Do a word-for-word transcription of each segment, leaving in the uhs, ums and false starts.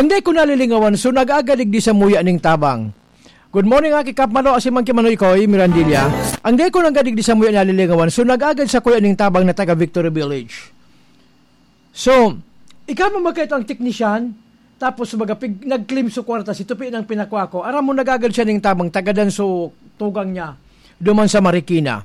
Ang dai ko nalilingawan, so nag-agad digdi samuya ning tabang. Good morning, aki Kap Malo, asin man ki Manoy Koy Mirandilla. Ang dai ko nang gadig di samuya nalilingawan, so nag-agad sakuya ning tabang na taga Victory Village. So, ikaw mo magkaito ang teknisyan, tapos baga pig-, nag-claim so kwarta, si Tupi nang pinakwa ko. Aram mo, nag-agad siya ning tabang, taga Danso, tugang niya, duman sa Marikina.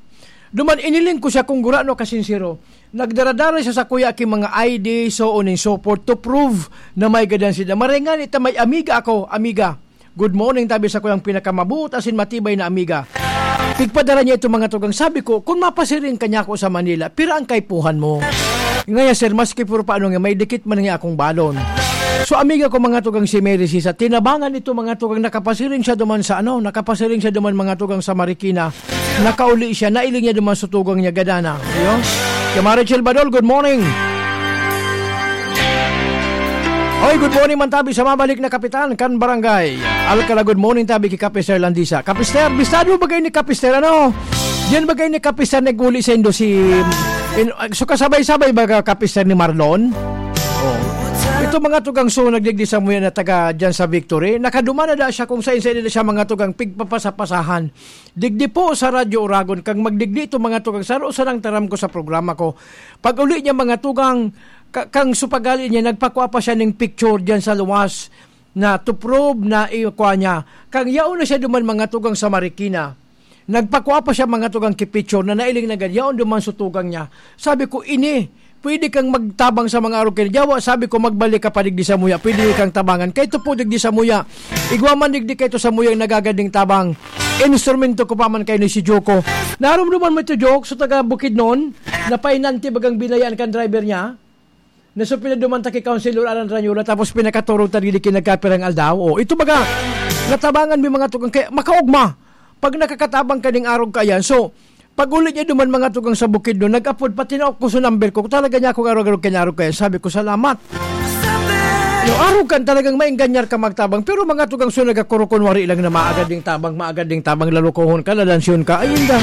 Duman, iniling ko siya kung gurano kasinsiro. Nagdaradara siya sakuya ki mga I D, so on and so forth, to prove na may gadan sila. Maray ngani ta may amiga ako, amiga. Good morning, tabi sakuyang pinakamabuot asin matibay na amiga. Pigpadara niya ito, mga tugang. Sabi ko, "Kung mapasiring ka niya ako sa Manila, pira ang kaipuhan mo?" Ngaya, sir, maski puro paano nga, may dikit man nga akong balon. So, amiga ko, mga tugang, si Mary Sisa, tinabangan ito, mga tugang, nakapasiring siya duman sa ano, nakapasiring siya duman, mga tugang, sa Marikina. Nakauli siya, nailing niya duman sa tugang niya, gadana. Ayun. Kay Marichel Badol, good morning. Oy, good morning man tabi sa mabalik na kapitan kan barangay Alcala. Good morning tabi ki Kapister Landisa. Kapister, bistado ba kayo ni Kapister? Ano? Diyan ba kayo ni Kapister nag-uli sa Indo si... In, so kasabay-sabay ba ka Kapister ni Marlon? Oh. Ito mga tugang so nagdigdi sa muya na taga dyan sa Victory. Nakadumana da siya kung saan-saan na siya mga tugang pigpapasa-pasahan. Digdi po sa Radyo Oragon, kang magdigdi ito mga tugang, saro sa nang taram ko sa programa ko. Pag uli niya mga tugang, ka-, kang supagali niya, nagpakwa pa siya ning picture diyan sa luwas na to prove na i-, kwa niya. Kang yaon na siya duman mga tugang sa Marikina. Nagpakwa pa siya mga tugang ki picture na nailing na gad, yaon duman sa tugang niya. Sabi ko, "Ini, pwede kang magtabang sa mga arog kay Jawa." Sabi ko, "Magbalik ka pa digdi sa muya, pwede kang tabangan." Kay ito po digdi sa muya, igwa man digdi kay ito sa muya yung nagagad ning tabang. Instrumento ko pa man kayo ni si Joko. Narumduman mo ito, Jok, sa taga Bukidnon, na painanti bagang binayaan kan driver niya? Na so pinaduman ta kay Councilor Alan Ranyola, tapos pinakaturog ta digdi ki nagkapirang aldaw. O, ito baga, natabangan mi mga tugang, kaya makaugma. Pag nakakatabang ka ning arog ka yan, so, pag uli niya duman mga tugang sa Bukidnon, nag-apod, pati na ako sa number ko, talaga niya akong arog-arog, kinarog kaya sabi ko, "Salamat." No, arog kan talagang maenganyar ka magtabang, pero mga tugang so nagakurukon, wari lang na maagad ding tabang, maagad ding tabang, lalokohon ka, lalansyon ka, ay inda.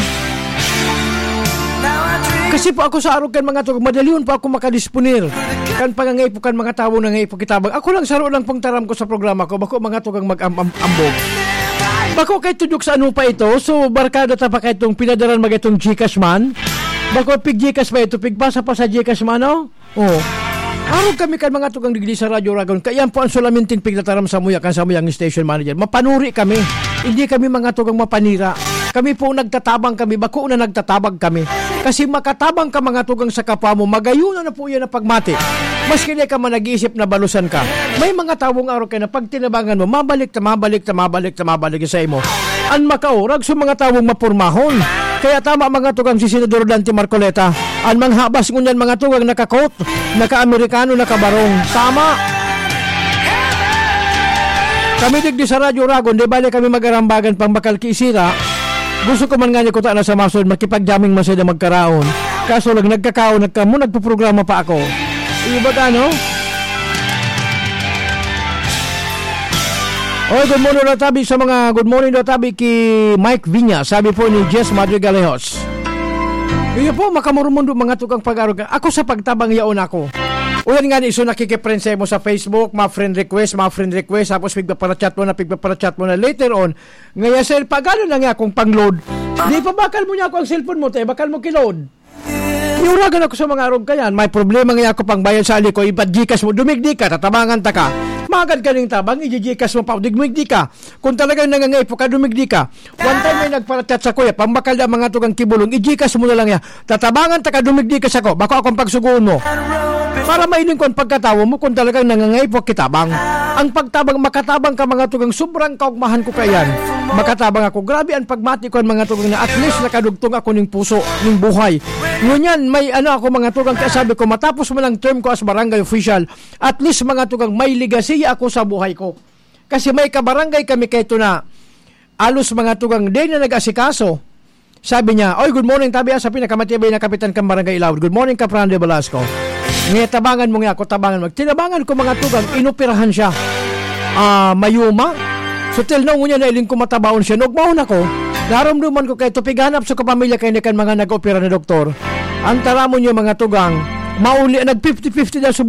Kasi po ako sa arog kan mga tugang, madalion po ako makadisponer. Kan pangangay po kan mga tawong nangay po kitabang. Ako lang, saro lang pong taram ko sa programa ko, bako mga tugang mag-am-am-ambog. Bako kay tudok sa ano pa ito? So, barkada ta pa kay itong pinadaran mag itong Gcash man. Bako pig Gcash pa ito, pigpasa pa sa Gcash man, no? Oh. Arog kami kan mga tugang digdi sa Radyo Oragon. Kaya yan po ang sulaminting pigtataram sa muya, kan sa muyang station manager. Mapanuri kami. Hindi kami mga tugang mapanira. Kami po nagtatabang kami, bako na nagtatabang kami. Kasi makatabang ka mga tugang sa kapwa mo, magayon na po yan ang pagmati. Maski di ka man nag-iisip na balusan ka. May mga tawong araw kayo na pag tinabangan mo, mabalik ta, mabalik ta, mabalik ta, mabalik sa imo. An makaurag sa mga tawong mapurmahon. Kaya tama mga tugang si Senador Dante Marcoleta. An manghabas ngunyan mga tugang nakakot, naka-Amerikano, nakabarong. Tama. Kami digdi sa Radyo Oragon, di bale kami magarambagan pang bakal ki Sira. Gusto ko man nga niya kuta na sa masod, makipag-jamming man sila magkaraon. Kaso lang nagkakaon, nagkamo, nagpuprograma pa ako. Iyo ba ka, no? Oy, good morning daw tabi sa mga, good morning daw tabi ki Mike Viña, sabi po ni Jess Madrigalejos. Iyo po, makamurmundo mga tukang pag-arog. Ako sa pagtabang yaon ako. Uyan nga ni iso nakikiprensa mo sa Facebook, mga friend request, mga friend request, tapos pigpaparachat mo na, pigpaparachat mo na. Later on, ngaya sir, pagano na nga akong pang-load? Di pa bakal mo niya ako ang cellphone mo, te, bakal mo ki-load. Iuragan ako sa mga arog kayan. May problema nga ako pang bayad sa ali ko, ipa-Gcash mo, dumigdi ka, tatabangan ta ka. Magad ka ning tabang, iji-Gcash mo pa, dumigdi ka. Kung talagang nangangaipo ka, dumigdi ka. One time may nagparachat sa kuya, pambakal na mga tugang kibulong, iji-Gcash mo na lang ya. Tatabangan ta ka, dumigdi ka sa ko, bako akong pagsugoon mo. Para mailing ko ang pagkatawo mo kung talagang nangangaipo kitabang. Ang pagtabang, makatabang ka mga tugang, sobrang kaugmahan ko kayan. Makatabang ako. Grabe ang pagmati ko ang mga tugang na at least nakadugtong ako ning puso, ning buhay. Ngunyan, may ano ako mga tugang, kaya sabi ko, matapos mo ng term ko as barangay official, at least mga tugang, may legacy ako sa buhay ko. Kasi may kabarangay kami kay ito na alos mga tugang, day na nag-asikaso. Sabi niya, "Oy, good morning, tabi, ah, sa pinakamatibay na kapitan kang Barangay Ilawod. Good morning, Kaprande Velasco." Ngayon, tabangan mo nga ako, tabangan mo. Tinabangan ko mga tugang, inoperahan siya. Ah, mayuma. So, till now, ngunyan na iling ko matabaon siya. Nagmaon ako. Naramdaman ko kay ito, pighanap sa kapamilya kay ni kan mga nag-opera na doktor. Ang taramon niya, mga tugang, mauli, nag fifty fifty na